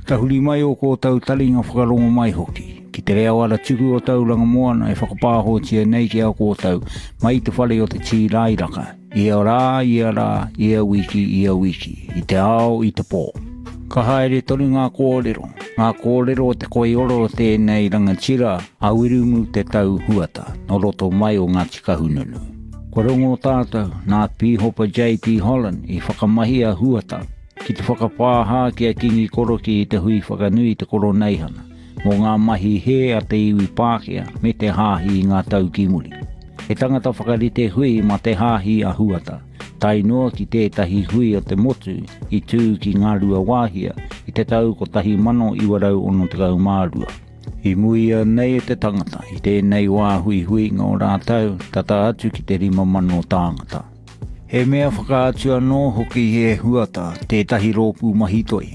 Tahuri mai ō kōtou taringa whakarongo mai hoki, ki te reo aratuku o Tauranga Moana e whakapāhotia nei ki a kōtou mai i te whare o te Tīrairaka, ia rā, ia rā, ia wiki, ia wiki, i te ao, i te pō. Ka haere tonu ngā kōrero, ngā kōrero o te koiora o tēnei rangatira a Wiremu Te Tau Huata, nō roto mai o Ngāti Kahungunu. Kua rongo tātou, nā Pīhopa JP Holland i whakamahi a Huata ki te whakapāha ki a Kīngi Korokī i te hui whakanui i te Koroneihana mō ngā mahi hē a te iwi Pākehā me te hāhi i ngā tau ki muri. He tangata whakarite hui mā te hāhi a Huata, tae noa ki tētahi hui o te motu i tū ki Ngāruawāhia i te tau 1962. I muia nei e te tangata i tēnei wā huihuinga o rātou tata atu ki te 5,000 tāngata. He mea whakaatu anō hoki e Huata tētahi rōpū mahi toi,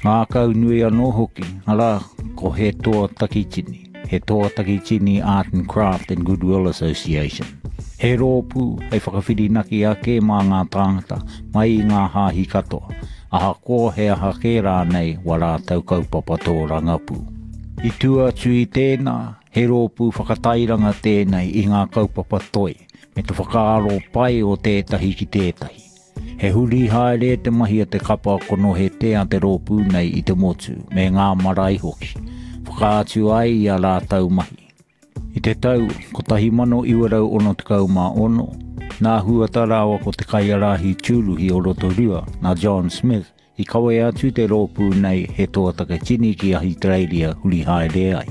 ngākau nui anō hoki, arā, ko He Toa Takitini, He Toa Takitini Art and Craft and Goodwill Association. He rōpū hei whakawhirinaki ake mā ngā tāngata mai i ngā hāhi katoa, ahakoa he aha kē rānei wā rātou kaupapa tōrangapū. I tua atu i tēnā, he rōpū whakatairanga tēnei i ngā kaupapa toi, me te whakaaro pai o tētahi ki tētahi. He huri haere te mahi a te kapa konohete a te rōpū nei i te motu, me ngā marae hoki, whakaatu ai i a rātou mahi. I te tau 1966, nā Huata rāua ko te kaiārahi tūruhi o Rotorua, nā John Smith, I kawe atu te rōpū nei he toa taketini ki Ahitereiria huri haere ai.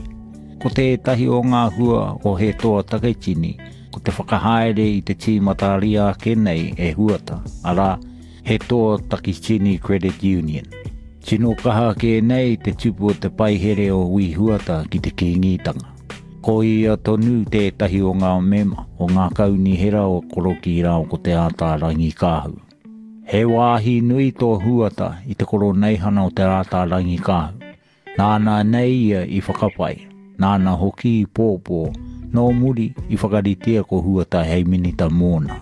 Ko tētahi o ngā hua o He Toa Taketini ko te whakahaere i te tīmataria ake nei e Huata, arā, He Toa Takitini Credit Union. Tino kaha kē nei te tupu o te paihere o Wī Huata ki te Kīngitanga. Ko ia tonu tētahi o ngā mema o ngā kaunihera o Korokī rāua ko Te Ātaarangi-kāhu. He wāhi nui tō Huata i te koroneihana o Te Ātaarangikaahu. Nāna nei ia i whakapai, nāna hoki i pōpō, nō muri i whakaritea ko Huata hei minita mōna.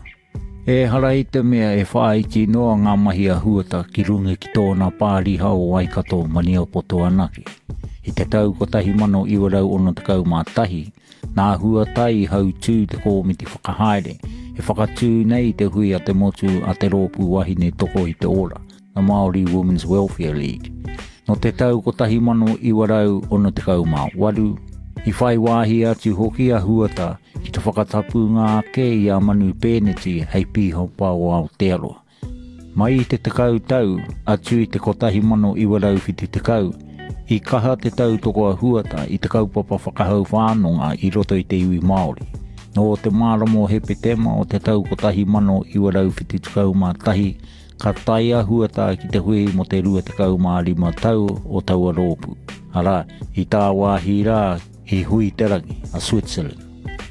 Ehara i te mea e whāiti noa ngā mahi a Huata ki runga ki tōna pāriha o Waikato Maniapoto anake. I te tau 1961, Nā Huata i hautū te kōmiti whakahaere e whakatū nei i te hui a te motu a te Rōpū Wahine Toko i te Ora, the Māori Women's Welfare League. Nō te tau 1968, i whai wāhi atu hoki a Huata ki te whakatapunga ake i a Manu Pēneti hei pīhopa o Aotearoa. Mai i te tekau tau atu i te 1970, i kaha te tautoko a Huata i te kaupapa whakahau whānonga i roto i te iwi Māori. Nō te marama o Hepetema o te tau 1971, ka tae a Huata ki te hui mō te 25 tau o taua rōpū, arā, i tāwāhi rā i Huiterangi, a Switzerland.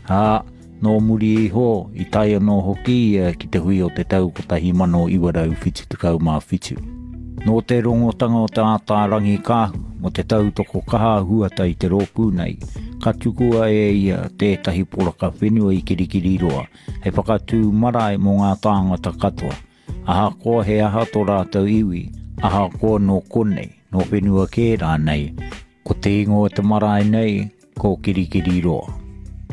Ā, Nō muri iho, i tae anō hoki ia ki te hui o te tau 1977. Nō te rongotanga o Te Ātaarangikaahu mō te tautoko kaha a Huata i te rōpū nei, ka tukua e ia tētahi poraka whenua i Kirikiriroa hei whakatū marae mō ngā tāngata katoa, ahakoa he aha tō rātou iwi, ahakoa nō konei, nō whenua kē rānei. Ko te ingoa o te marae nei, ko Kirikiriroa.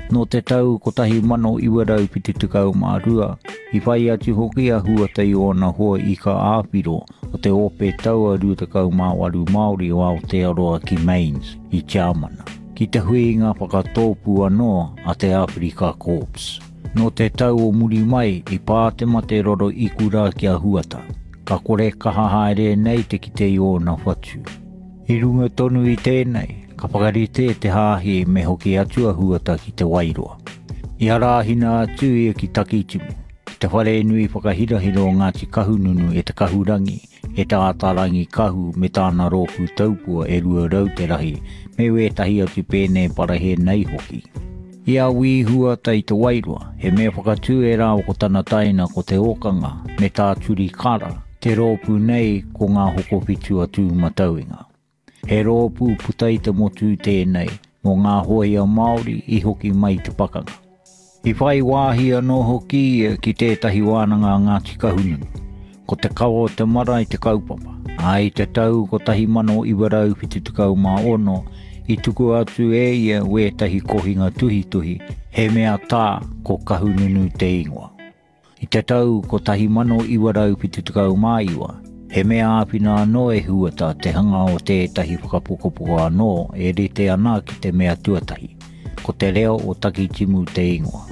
Nō te tau 1972, i whai atu hoki a Huata i ōna hoa ika ā-whiro o te Ope Taua 28 Māori o Aotearoa ki Mainz, i Tiamana, ki te huinga whakatōpū anō a te Āwherika Corps. Nō te tau o muri mai i pā te mate roro ikura ki a Huata, ka kore kaha haere nei te kite i ōna whatu. I runga tonu i tēnei, ka whakarite te hāhi me hoki atu a Huata ki Te Wairoa. I arahina atu ia ki Takitimu, ki te wharenui whakahirahira o Ngāti Kahungunu e Te Kahurangi, e Te Ātaarangikahu me tāna rōpū taupua e 200 te rahi, me wētahi atu pēne parahe nei hoki. I a Wī Huata i Te Wairoa, he mea whakatū e rāua ko tana taina ko Te Ōkanga me Tā Turi Kara, te rōpū nei ko Ngā Hokowhitu a Tūmatauenga. He rōpū puta i te motu tēnei mō ngā hōia Māori i hoki mai i te pakanga. I whai wāhi anō hoki ia ki tētahi wānanga a Ngāti Kahungunu. Ko te kawa o te marae te kaupapa, ā, i te tau 1976 i tukua atu e ia wētahi kohinga tuhituhi, he mea tā ko Kahununu te ingoa. I te tau 1979, he mea āwhina anō e Huata te hanga o tētahi whakapukapuka anō e rite ana ki te mea tuatahi, ko Te Reo o Takitimu te ingoa.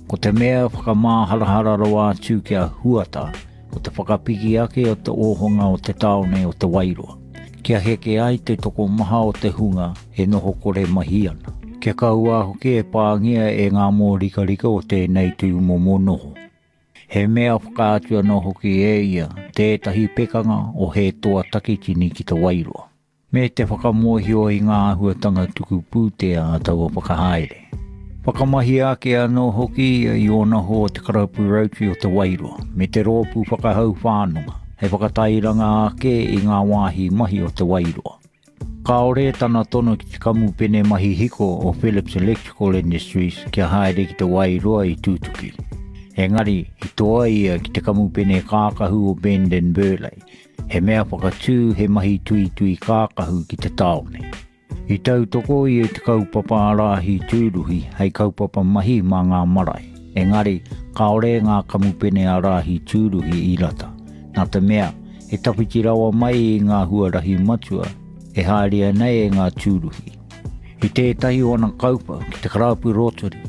Ko te mea whakamāharahara rawa atu ki a Huata, ko te whakapiki ake o te ōhanga o te tāone o Te Wairoa, kia heke ai te tokomaha o te hunga e noho kore mahi ana, kia kaua hoki e pāngia e ngā mōrikarika o tēnei tūmomo noho. He mea whakaatu anō hoki e ia tētahi pekanga o He Toa Takitini ki Te Wairoa. Me te whakamōhio i ngā āhuatanga tuku pūtea a taua whakahaere. Whakamahia ake anō hoki ia i ōna hoa o te Karapu Rotary o Te Wairoa me te Rōpū Whakahau Whānunga hei whakatairanga ake i ngā wāhi mahi o Te Wairoa. Kāore tana tono ki te kamupene mahi hiko o Phillips Electrical Industries kia haere ki Te Wairoa i tutuki. Engari, i toa ia ki te kamupene kākahu o Bend and Burleigh He mea whakatū he mahi tuitui kākahu ki te tāone. I tautoko ia i te kaupapa ārahi tūruhi hei kaupapa mahi mā ngā marae, engari kāore ngā kamupene ārahi tūruhi i rata, nā te mea he tawhiti rawa mai i ngā huarahi matua e haerea nei e ngā tūruhi. I tētahi o ana kauwhau ki te Karapu Rotary,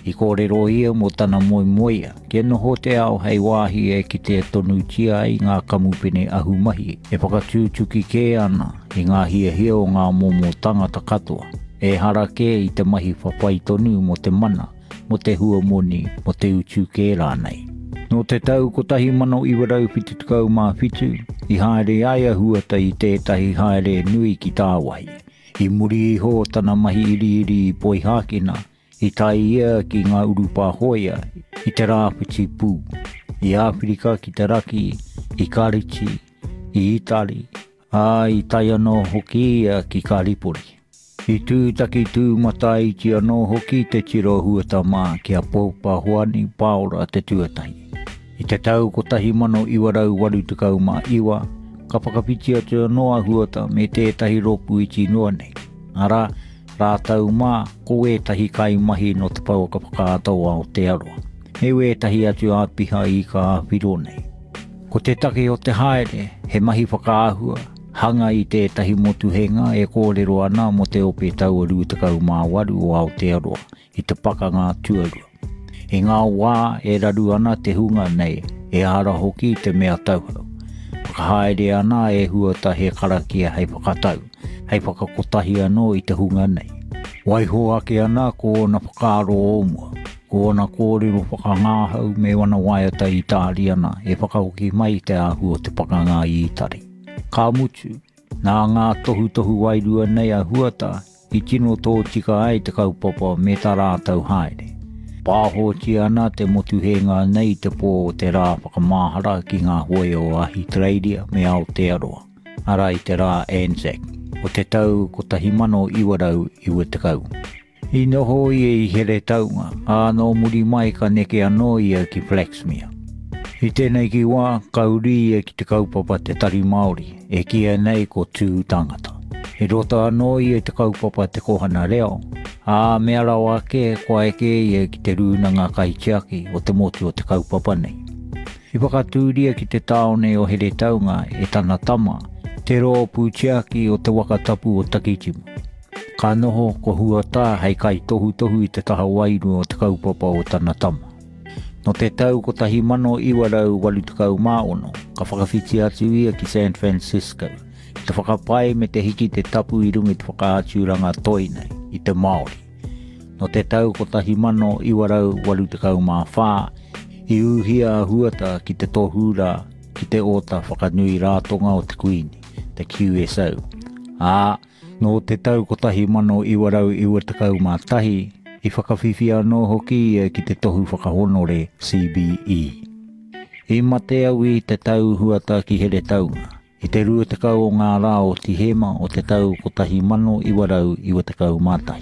I kōrero ia mō tana moemoeā kia noho te ao hei wāhi e kitea tonutia ai ngā kamupene ahumahi e whakatūtuki kē ana i ngā hiahia o ngā momo tangata katoa, ehara kē i te mahi whawhai tonu mō te mana, mō te huamoni, mō te utu kē rānei. Nō te tau 1977, i haere ai a Huata i tētahi haere nui ki tāwāhi. I muri iho o tana mahi iriiri i Poihākena, I tae ia ki ngā urupā hōia i te Rāwhiti Pū, i Āwherika ki te Raki, i Kariti, i Itari, ā, i tae anō hoki ia ki Karipori. I tūtaki tūmataiti anō hoki te tira o Huata mā ki a Popa Hoani Paora te tuatahi. I te tau 1989, ka whakawhiti atu anō a Huata me tētahi rōpū iti noa nei, arā, Rātou mā, ko wētahi kaimahi nō te pouaka whakaata o Aotearoa, me wētahi atu āpiha i ka āwhiro nei. Ko te take o te haere, he mahi whakaahua, hanga i tētahi motuhenga e kōrero ana mō te Ope Taua 28 o Aotearoa i te Pakanga Tuarua. I ngā wā e raru ana te hunga nei, ehara hoki i te mea tauhou. Whakahaere ana e Huata he karakia hei whakatau, hei whakakotahi anō i te hunga nei. Waiho ake ana ko ōna whakaaro o mua, ko ōna kōrero whakangāhau me wana waiata Itāriana e whakahoki mai i te āhua o te pakanga i Itari. Ka mutu, nā ngā tohutohu wairua nei a Huata i tino tōtika ai te kaupapa me tā rātou haere. Pāhotia ana te motuhenga nei i te pō o te rā whakamahara ki ngā hōia o Ahitereiria me Aotearoa, arā i te rā Anzac, o te tau 1990. I noho ia i Heretaunga, ā, nō muri mai ka neke anō ia ki Flaxmere. I tēnei ki wā, ka uri ia ki te kaupapa Te Tari Māori, e kīia nei ko Tū Tangata. I roto anō ia i te kaupapa Te Kohana Reo, ā, mea rawa ake kua eke ia ki te rūnanga kaitiaki o te motu o te kaupapa nei. I whakatūria ki te tāone o Heretaunga e tana tama, te rōpū tiaki o te waka tapu o Takitimu. Ka noho ko Huatā hei kaitohutohu i te taha wairua o te kaupapa o tana tama. Nō te tau 1986, ka whakawhiti atu ia ki San Francisco, ki te whakapae me te hiki te tapu i runga i te whakaaturanga toi nei, i te Māori. Nō te tau 1984, i ūhia a Huata ki te tohu rā ki te Ōta Whakanui Rātonga o te Kuini, te QSO, ā, Nō te tau 1991, i whakawhiwhia anō hoki ia ki te tohu whakahōnore CBE. I mate au i te tau huata ki Heretaunga, i te 20 o ngā rā o Tihema o te tau 1991.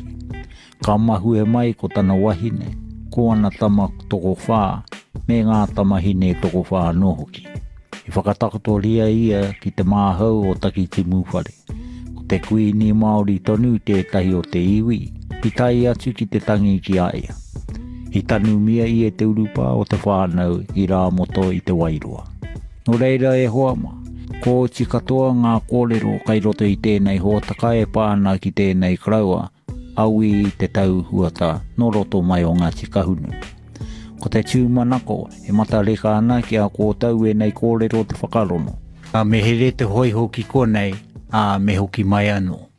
Ka mahue mai ko tana wahine, ko ana tama tokowhā, me ngā tamahine tokowhā anō hoki. I whakatakotoria ia ki te māhau o Takitimu whare. Ko te Kuini Māori tonu tētahi o te iwi i tae atu ki te tangi ki a ia. I tanumia ia te urupā o te whānau i Rāmoto i Te Wairoa. Nō reira e hoa mā, kua oti katoa ngā kōrero kai roto i tēnei hōtaka e pā ana ki tēnei karaua a Wī Te Tau Huata nō roto mai o Ngāti Kahungunu. Ko te tūmanako e matareka ana ki a kōtou ēnei kōrero te whakarono. Me here te hōiho ki konei, ā, me hoki mai anō.